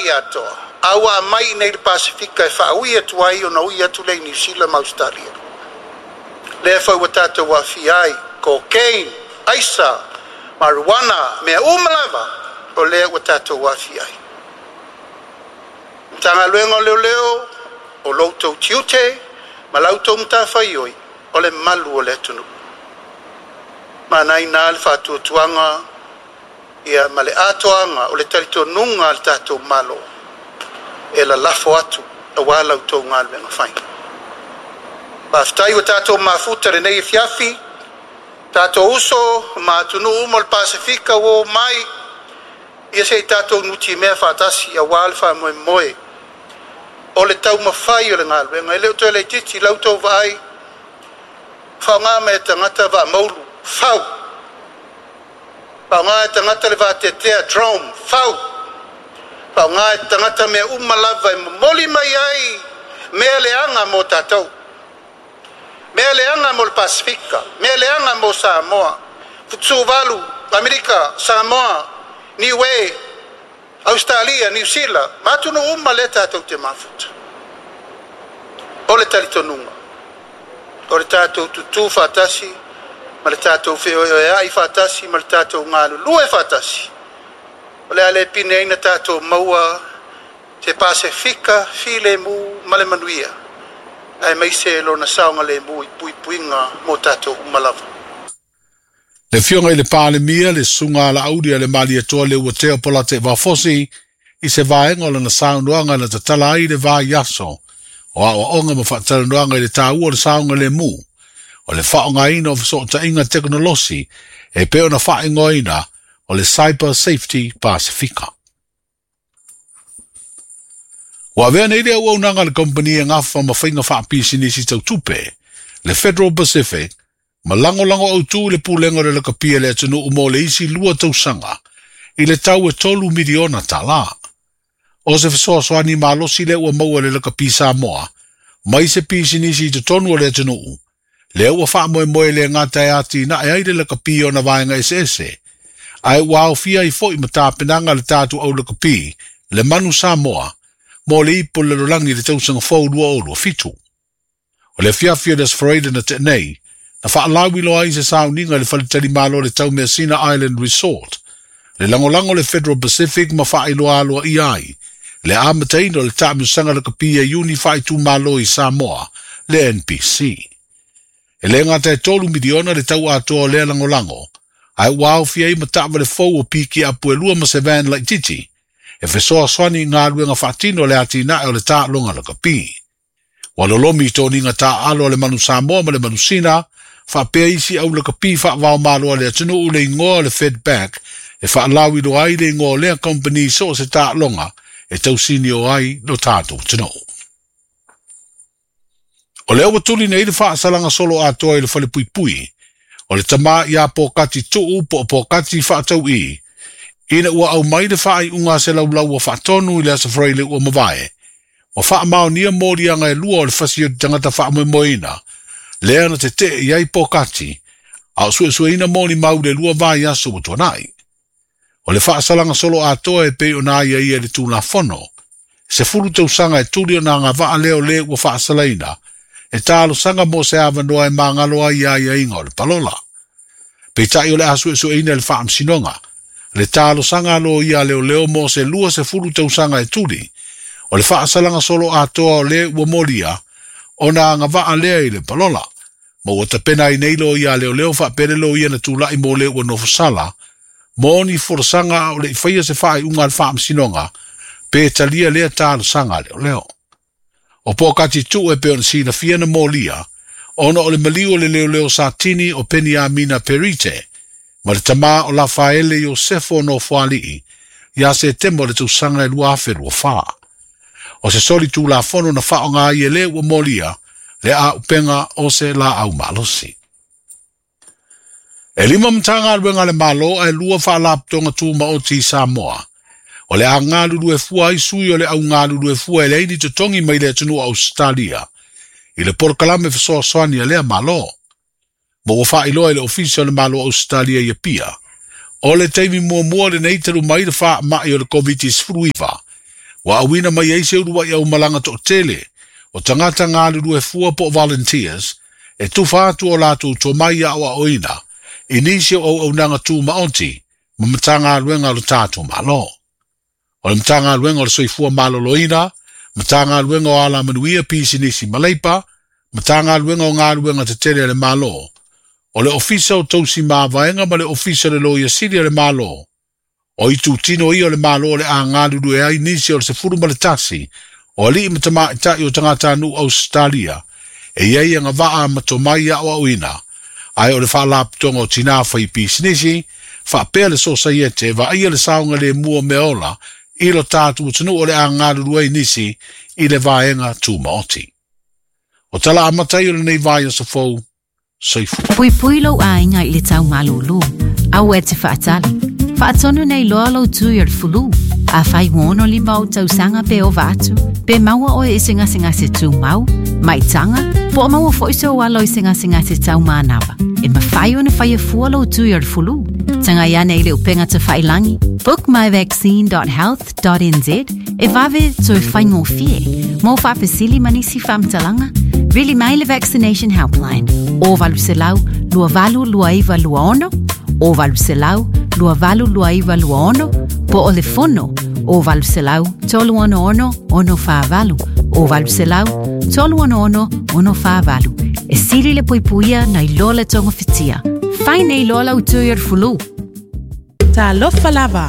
lalolagi atoa, a ua aumai i inei i le Pasefika e faaui atu ai ona ui atu lea i Niu Sila ma Ausetalia. Lea foi ua tatou aafia ai, cocaine, aisa, marijuana, mea uma lava o lea ua tatou aafia ai. Matagaluega o Leoleo, o lo outou tiute ma la outou matafaioi o le malu o le atunuu. Manaina le faatuatuaga ia ma le atoaga o le talitonuga a le tatou Malo e lalafo atu aua la outou galuega fai. Faafetai ua tatou mafuta i lenei afiafi, tatou uso ma atunuu uma o le Pasefika ua omai ia se i tatou nutimea faatasi aua le faamoemoe o le taumafai o le galuega. E le o toe laitiiti la outou vaai, faaaoga mai e tagata vaa maulu, fau. Faaaoga e tagata le vateatea, drone, fau. Faaaoga e tagata mea uma lava e momoli mai ai mea leaga mo tatou, mea leaga mo le Pasefika, mea leaga mo Samoa. Tuvalu, Amerika, Samoa, Niue, Australia, Niu Sila ma atunuu uma lea tatou te mafuta. O le talitonuga o le tatou tutu faatasi ma le tatou feoeoeai faatasi ma le tatou galulue faatasi, o le a le pine ai na tatou maua se Pasefika filemu ma le manuia, aemaise lona saogalemu i puipuiga mo tatou uma lava. Le afioga i le Palemia, le Susuga a Laauli a le Malietoa Leuatea Polataivao Fosi, i se vaega o lana saunoaga na tatala ai le vaiaso o aoaoga ma faatalanoaga i le taua o le saogalemu o le faaaogaina o fesootaiga tekonolosi e pei ona faaigoaina o le Cyber Safety Pasefika. Ua avea nei le auaunaga a le kamupani e gafa ma faiga faapisinisi tau tupe, le Federal Pacific, ma lagolago autū i le pulega o le lakapi a le atunuu mo le isi 2 tausaga i le tau e $3 miliona. O se fesoasoani malosi lea ua maua e le lakapi Samoa mai se pisinisi i totonu o le atunuu, lea ua faamoemoe le gata e atinae ai le lakapi ona vaega eseese, ae ua aofia ai foi ma tapenaga le tatou au lakapi, le Manu Samoa, mo le ipu o le lalolagi i le tausaga fou 2027. O le afiafi o le Aso Faraile na tea nei, na faalauiloa ai se sauniga i le faletalimalo o le Taumeasina Island Resort, le lagolago le Federal Pacific ma faailoa aloaia ai le amataina o le taamilosaga lakapi a Iuni faaitumalo i Samoa, le NPC. E le gata e $3 miliona le tau atoa o lea lagolago, ae ua aofia ai ma taavale fou o piki apu e 2 ma se van laitiiti, e fesoasoani i galuega faatino le atinae o le taaloga lakapi. Ua lolomi i toniga taaalo a le Manu Samoa ma le Manu Sina, faapea isi au lakapi faavaomalo a le atunuu le igoa o le Fedback e faalauiloa ai le igoa o lea kamupani so o se taaloga e tausini o ai lo tatou atunuu. O lea ua tuli nei le faasalaga solo atoa i le falepuipui o le tama ia Pōkati Tuu po o Pōkati Faatau'i, ina ua aumai le faaiuga a se laulau ua faatonu i le Aso Faraile ua mavae, ua faamaonia moliaga e 2 o le fasi o le tagata faamoemoeina, lea na tetee i ai Pōkati, a o suesueina molimau le 2 vaiaso ua tuanai. O le faasalaga solo atoa e pei ona aiaia i le Tulafono, 10 tausaga e tuli ona agavaa lea o le ua faasalaina, e talosaga mo se avanoa e magalo ai aiaiga o le palola. Peitai o le a suesueina i le faamasinoga, le talosaga a loia a leoleo mo se 20 tausaga e tuli, o le faasalaga solo atoa o le ua molia, ona agavaa lea i le palola. Ma ua tapena ai nei loia a leoleo faapea le loia na tulai mo le ua nofosala, mo ni folasaga a o le i faia se faaiuga a le faamasinoga, pe talia lea talosaga a leoleo. O Pōkati Tuu e pei ona silafia na molia, ona o le maliu o le leoleo Satini o Peniamina Perite, ma le tama o Lafaele Iosefo Nofoalii, ia Setema o le tausaga e 2024. O se soli tulafono na faaaoga ai e le ua molia, le auupega o se laau malosi. E 5 matagaluega a le Malo ae 2 faalapotopotoga tumaoti i Samoa. O le a galulue fua ai sui o le au galulue fua e leai ni totogi mai le atunuu o Ausetalia i le polokalame fesoasoani a lea Malo. Ma ua faailoa i le Ofisa o le Malo o Ausetalia i Apia, o le taimi muamua lenei talu mai le faamai o le COVID-19, Ua auina mai ai se uluai aumalaga to'atele o tagata galulue fua po o volunteers e tufa atu o latou tomai a'oa'oina i nisi o auaunaga tumaoti ma Matagaluega o le tatou Malo. O le Matagaluega o le Soifua Maloloina, Matagaluega o Alamanuia Pisinisi ma Leipa, Matagaluega o Galuega Tetele a le Malo, o le Ofisa o Tausi Mavaega ma le Ofisa o le Loia Sili a le Malo. O itutino ia o le Malo o le a galulue ai nisi o le 11 o alii ma tamaitai o tagatanuu Ausetalia e i ai agavaa ma tomai aoaoina, ae o le Faalapotopotoga o Tinā Faipisinisi faapea le Sosaiete e vaaia le saogalemu o meaola i lo tatou atunuu o le a galulue ai nisi i le vaega tumaoti. O tala amata ia o lenei vaiaso fou. Soifua. Puipui lou aiga i le tau malūlū. Aua e te faatali. Faatonu nei loa lou tui o le fulu. Afai ua 65 ou tausaga pe ova atu, pe maua oe i se gasegase tumau, maitaga, po o maua foi sou alo i se gasegase tau manava, e mafai ona faia fua lou tui o le fulu. Tagai ane i le upega tafailagi bookmyvaccine.health.nz e vave toe faigofie. Mo faafesili ma nisi faamatalaga, vili mai le Vaccination Helpline o 800 282926 o 800 282926 po o le fono o 800 366 648 o 800 366 648. E sili le puipuia nai lo le togofitia. Fai nei loa lau tui o le fulu. Talofa lava.